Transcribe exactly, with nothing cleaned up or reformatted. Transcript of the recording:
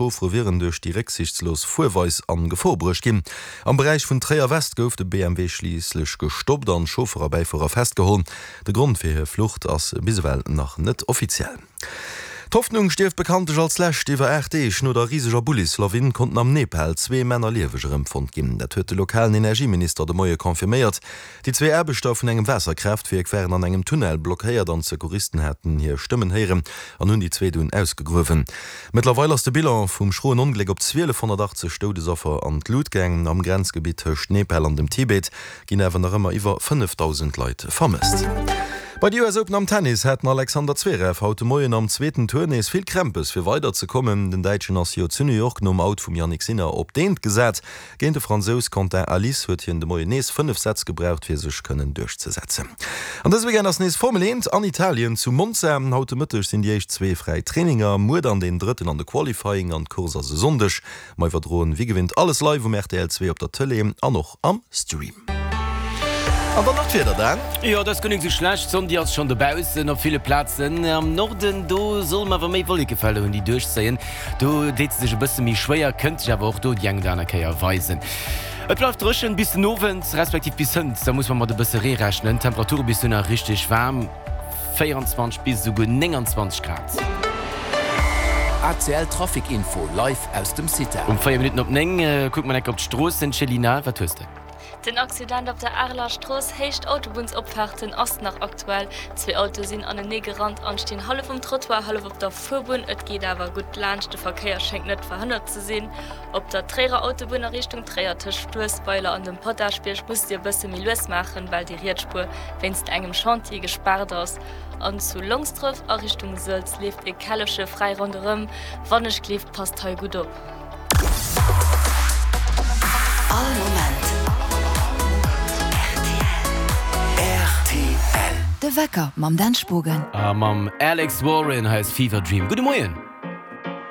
Chauffere wieren duerch déi récksiichtslos Fuerweis an Gefor bruecht ginn. Am Beräich vun Tréier-West gouf de B M W schliisslech gestoppt an Chauffer a Bäifuerer festgeholl. De Grond fir hir Flucht ass bis ewell nach net offiziell. D'Hoffnung stierft bekanntlech als Lescht. Iwwer aacht Deeg no der riseger Bullislawin konnten am Nepal zwee Männer lieweg erëmfonnt ginn. Dat huet de lokalen Energieminister de Moie confirméiert. Déi zwee Aarbechter vun engem Waasserkraaftwierk waren an engem Tunnel blockéiert an d'Secouristen haten hir Stëmmen héieren an hunn déi zwee dunn ausgegruewen. Mëttlerweil ass de Bilan vum schroen Ongléck op zwielefhonnertachtzeg Doudesaffer an d'Lut gaang. Am Grenzgebitt tëscht Nepal an dem Tibet ginn awer nach ëmmer iwwer fënnefdausend Leit vermësst. Bei de U S Open am Tennis hat den Alexander Zverev haut de Moien am zweeten Tour nees vill Krämpes fir weider ze kommen. Den Däitschen ass jo zu New York nom Out vum Jannik Sinner op d'Eent gesat. Géint de Fransous Quentin Halys huet hien de Moien nees fënnef Sätz gebraucht fir sech kënnen duerchzesetzen. An dëse Weekend ass nees Formel eent an Italien zu Monza. Haut de Mëtteg sinn déi éischt zwee fräi Traininger, muer dann deen drëtten an de Qualifying an d'Course ass e Sonndeg. Mer iwwerdroen wéi gewinnt alles live um R T L zwee op der Tëlee an och am Stream. An dann nach d'Wieder, Dan. Jo, dat ass guer nik sou schlecht. D'Sonn déi ass schonn dobaussen op ville Plazen. Am Norden do solle mer awer méi Wollekefelder hunn déi duerchzéien. Do deet se sech e bësse méi schwéier, kënnt sech awer och do déi eng oder aner Kéier weisen. Et bleift dréchen bis den Owend, respektiv bis hënt, da muss mer mat e bësse Ree rechnen. D'Temperature bis dohinner richteg waarm, véierenzwanzeg bis esouguer nénganzwanzeg Grad. A C L Trafic Info live aus dem CITAR. Um véier Minutten op néng kucke mer enk op d'Stroossen. Céline, wat hues de? Den Accident op der Areler Strooss Héicht Autobunnsopfaarten ass nach aktuell. Zwee Autoe sinn anenee gerannt an stinn hallef um Trottoir, hallef op der Fuerbunn. Et geet awer gutt laanscht, de Verkéier schéngt net verhënnert ze sinn. Op der Tréierer Autobunn a Richtung Tréier tëscht Fluessweiler an dem Potaschbierg musst Dir e bësse méi lues maachen, well déi riets Spuer wéinst engem Chantier gespaart ass. An zu Longsdref a Richtung Sëlz leeft e Källefche fräi ronderëm. Wannechgelift passt hei gutt op. All Moment rtl. De Wecker mam Dan Spogen. A mam Alex Warren, hei ass Fever Dream. Gudde Moien.